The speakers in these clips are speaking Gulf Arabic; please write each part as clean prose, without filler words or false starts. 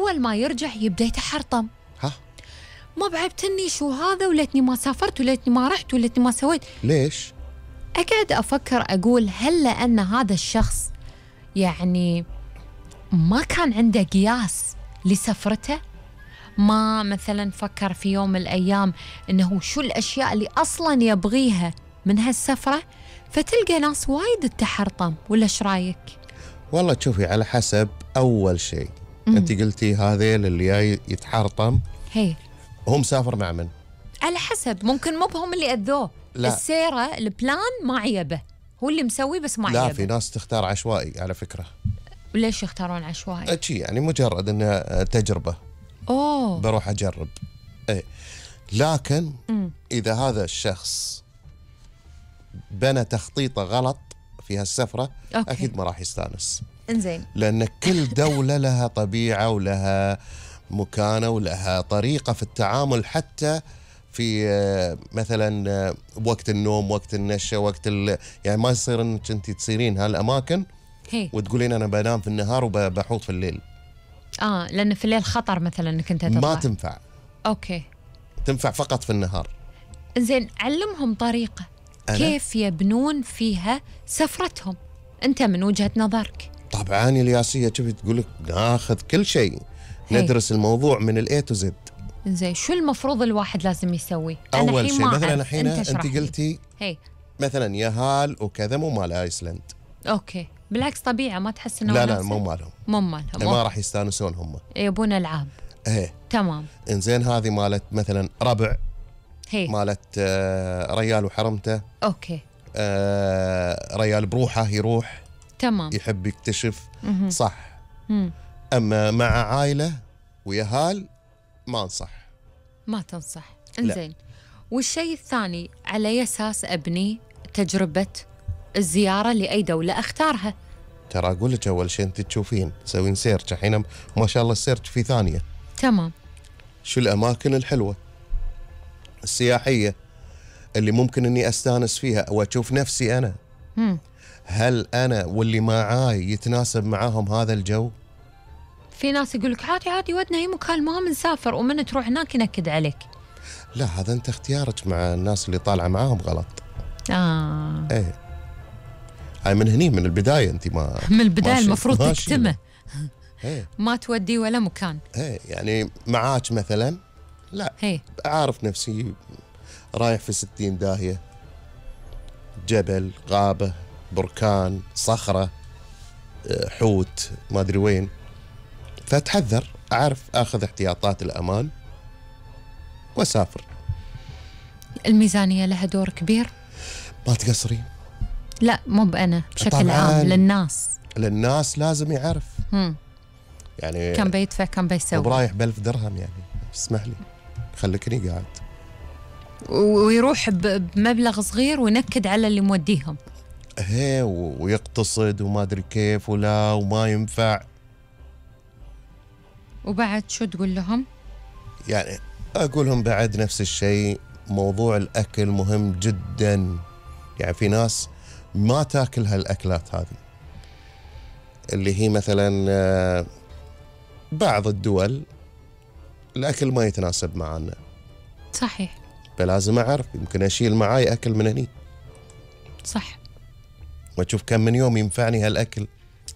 أول ما يرجع يبدأ يتحرطم. ما بعبتني شو هذا، وليتني ما سافرت، وليتني ما رحت، وليتني ما سويت. ليش؟ أقعد أفكر أقول هل لأن هذا الشخص يعني ما كان عنده قياس لسفرته؟ ما مثلا فكر في يوم من الأيام إنه شو الأشياء اللي أصلا يبغيها من هالسفرة؟ فتلقى ناس وايد تحرطم. ولا إيش رايك؟ والله تشوفي على حسب. أول شيء أنت قلتي هذيل اللي جاي يتحرطم هي هو مسافر مع من؟ على حسب، ممكن مو بهم اللي أذوه، السيرة البلان ما عيبه، هو اللي مسوي بس ما عيبه. لا، في ناس تختار عشوائي على فكرة. وليش يختارون عشوائي؟ شي يعني مجرد انها تجربة. بروح اجرب. ايه لكن اذا هذا الشخص بنى تخطيطه غلط في هالسفرة اكيد ما راح يستانس. انزين، لان كل دولة لها طبيعة ولها مكانة ولها طريقة في التعامل، حتى في مثلا وقت النوم، وقت النشة، يعني ما يصير انك انت تصيرين هالاماكن وتقولين انا بنام في النهار وبحوط في الليل. لان في الليل خطر مثلا انك انت تطلع. ما تنفع. اوكي، تنفع فقط في النهار. زين، علمهم طريقة كيف يبنون فيها سفرتهم انت من وجهة نظرك. طبعا الياسية شوفي تقولك ناخذ كل شيء، ندرس الموضوع من الاي تو زد. زين، شو المفروض الواحد لازم يسوي؟ اول شيء مثلا الحين انت قلتي مثلا يهال وكذا مو مال ايسلند. اوكي، بالعكس طبيعة، ما تحس انه لا مو مالهم. ما راح يستانسون هم، يبون العاب. تمام. انزين، هذه مالت مثلا ربع، مالت ريال وحرمته. اوكي. ريال بروحه يروح، تمام، يحب يكتشف. صح. اما مع عائلة ويهال ما تنصح. انزين، والشيء الثاني على أي أساس أبني تجربة الزيارة لأي دولة أختارها؟ ترى أقول لك أول شيء أنت تشوفين، تسوين سيرش. الحين ما شاء الله السيرش في ثانية. تمام. شو الأماكن الحلوة السياحية اللي ممكن أني أستانس فيها وأشوف نفسي أنا. هل أنا واللي معاي يتناسب معاهم هذا الجو؟ في ناس يقولك عادي ودنا أي مكان، ما بنسافر، ومن تروح هناك ينكد عليك. لا، هذا أنت اختيارك مع الناس اللي طالعة معاهم غلط. إيه، هاي من هني من البداية أنت من البداية المفروض تكتمه. ما تودي ولا مكان. يعني معاك مثلا، لا أعرف نفسي رايح في 60 داهية، جبل، غابة، بركان، صخرة، حوت، ما أدري وين، فأتحذر، أعرف أخذ احتياطات الأمان وأسافر. الميزانية لها دور كبير. ما تقصرين. لا، مو بأنا، بشكل عام للناس لازم يعرف. يعني كم بيدفع، كم بيسوي. وبرايح ب1000 درهم يعني، اسمح لي خليكني قاعد. ويروح بمبلغ صغير وينكد على اللي موديهم. ويقتصد وما أدري كيف وما ينفع. وبعد شو تقول لهم؟ يعني أقول لهم بعد نفس الشيء، موضوع الأكل مهم جدا. يعني في ناس ما تاكل هالأكلات هذه، اللي هي مثلا بعض الدول الأكل ما يتناسب معنا. صحيح. فلازم أعرف، يمكن أشيل معاي أكل من هني. صح. وأشوف كم من يوم ينفعني هالأكل.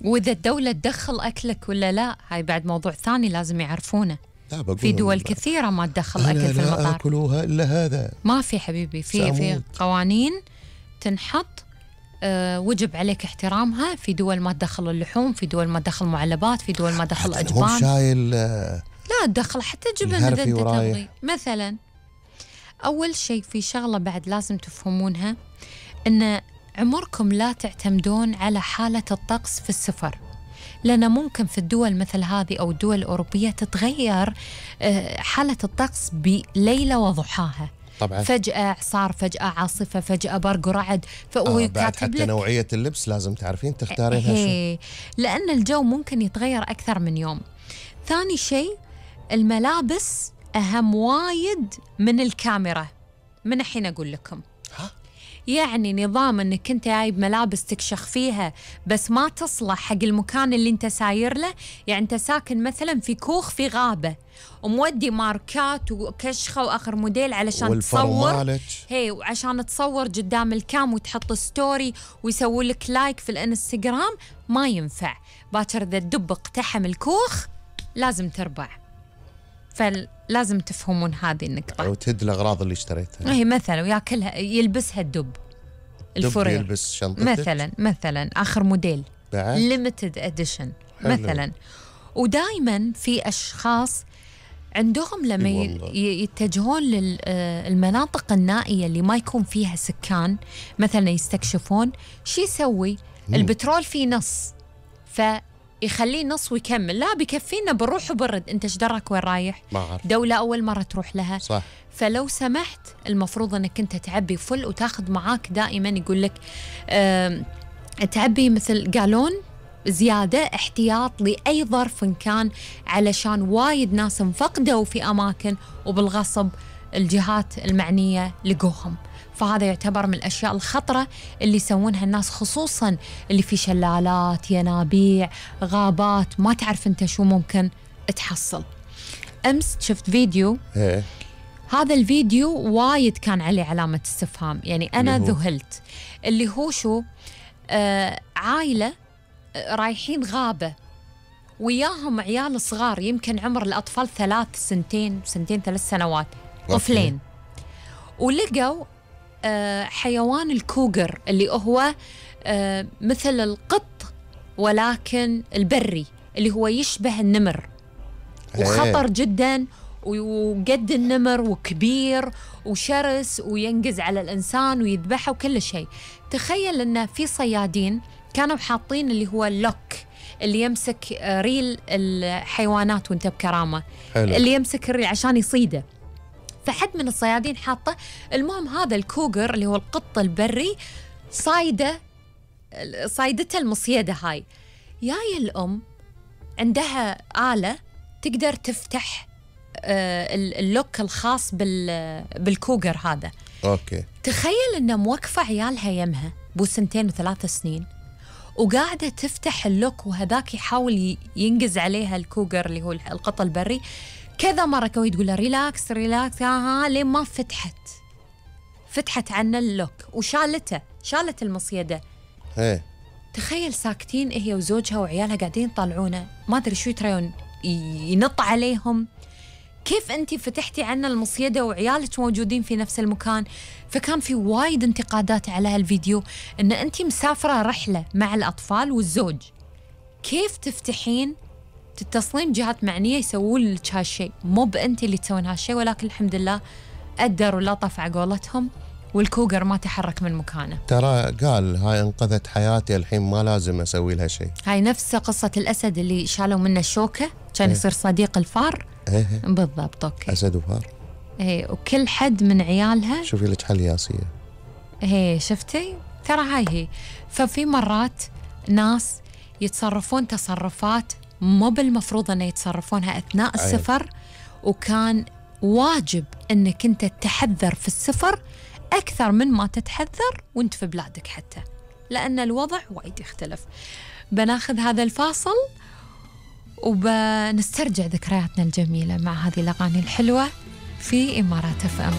وإذا الدولة تدخل أكلك ولا لا، هاي بعد موضوع ثاني لازم يعرفونه. في دول كثيرة ما تدخل أكل في المطار. لا أكلوها إلا هذا. ما في حبيبي، في قوانين تنحط، وجب عليك احترامها. في دول ما تدخل اللحوم، في دول ما تدخل معلبات، في دول ما تدخل أجبان. هم شايل لا تدخل حتى جبن إذا أنت تبغي مثلا. أول شيء في شغلة بعد لازم تفهمونها، إن عمركم لا تعتمدون على حالة الطقس في السفر، لأن ممكن في الدول مثل هذه أو الدول الأوروبية تتغير حالة الطقس بليلة وضحاها. طبعا فجأة إعصار، فجأة عاصفة، فجأة برق ورعد. بعد حتى نوعية اللبس لازم تعرفين تختارينها شو، لأن الجو ممكن يتغير أكثر من يوم. ثاني شيء، الملابس أهم وايد من الكاميرا. من الحين أقول لكم، يعني نظام انك انت جايب ملابس تكشخ فيها بس ما تصلح حق المكان اللي انت ساير له. يعني انت ساكن مثلا في كوخ في غابة ومودي ماركات وكشخة واخر موديل علشان تصور، هي وعشان تصور قدام الكام وتحط ستوري ويسووا لك لايك في الانستغرام، ما ينفع. باكر اذا الدب اقتحم الكوخ لازم تربع. فلازم تفهمون هذه النقطة. أو تهد الأغراض اللي اشتريتها. هي مثلا وياكلها يلبسها الدب. الفرير يلبس شنطتك مثلا آخر موديل بعد limited edition مثلا. ودائما في أشخاص عندهم لما يتجهون للمناطق النائية اللي ما يكون فيها سكان مثلا يستكشفون، شي يسوي؟ البترول فيه نص، يخليه نص ويكمل. لا بيكفينا بنروح وبرد. انت ايش درك وين رايح؟ ما أعرف. دولة أول مرة تروح لها. صح. فلو سمحت المفروض انك انت تعبي فل وتاخذ معاك دائما يقول لك تعبي مثل قالون زيادة احتياط لأي ظرف كان، علشان وايد ناس انفقدوا في أماكن وبالغصب الجهات المعنية لقوهم. فهذا يعتبر من الأشياء الخطرة اللي يسوونها الناس، خصوصاً اللي في شلالات، ينابيع، غابات، ما تعرف أنت شو ممكن تحصل. أمس شفت فيديو، هذا الفيديو وايد كان عليه علامة استفهام، يعني أنا ذهلت. اللي هو شو؟ عائلة رايحين غابة وياهم عيال صغار، يمكن عمر الأطفال 2 سنتين 3 سنوات، طفلين. ولقوا حيوان الكوغر اللي هو مثل القط ولكن البري، اللي هو يشبه النمر وخطر جدا وقد النمر وكبير وشرس وينقز على الإنسان ويذبحه وكل شيء. تخيل أن في صيادين كانوا حاطين اللي هو اللوك اللي يمسك ريل الحيوانات وانت بكرامة، اللي يمسك الريل عشان يصيده. فحد من الصيادين حاطه. المهم هذا الكوغر اللي هو القط البري صايدته المصيدة هاي. جاي الأم عندها آلة تقدر تفتح اللوك الخاص بالكوغر هذا. أوكي. تخيل إنه موقفة عيالها يمها بو 2 و3 سنين وقاعدة تفتح اللوك، وهذاك يحاول ينقز عليها الكوغر اللي هو القط البري كذا مرة، كوي تقول له ريلاكس لين ما فتحت عنا اللوك شالت المصيدة. تخيل ساكتين هي وزوجها وعيالها قاعدين يطلعونه، ما أدري شو يتريون، ينط عليهم. كيف أنتي فتحتي عنا المصيدة وعيالك موجودين في نفس المكان؟ فكان في وايد انتقادات على هالفيديو، إن أنتي مسافرة رحلة مع الأطفال والزوج، كيف تفتحين؟ تتصلين جهات معنية يسوون لك هالشيء، مو بأنتي اللي تسوين هالشيء. ولكن الحمد لله قدروا لطف على قولتهم والكوغر ما تحرك من مكانه. ترى قال هاي انقذت حياتي، الحين ما لازم اسوي لها شيء. هاي نفس قصة الأسد اللي شالوا منه الشوكة كان يصير صديق الفار. بالضبط. اوكي. أسد وفار. وكل حد من عيالها. شوفي لك حل ياسية. شفتي؟ ترى هاي هي. ففي مرات ناس يتصرفون تصرفات مو بالمفروض أن يتصرفونها أثناء السفر، وكان واجب أنك أنت تحذر في السفر أكثر من ما تتحذر وانت في بلادك، حتى لأن الوضع وايد يختلف. بناخذ هذا الفاصل وبنسترجع ذكرياتنا الجميلة مع هذه الأغاني الحلوة في إمارات FM.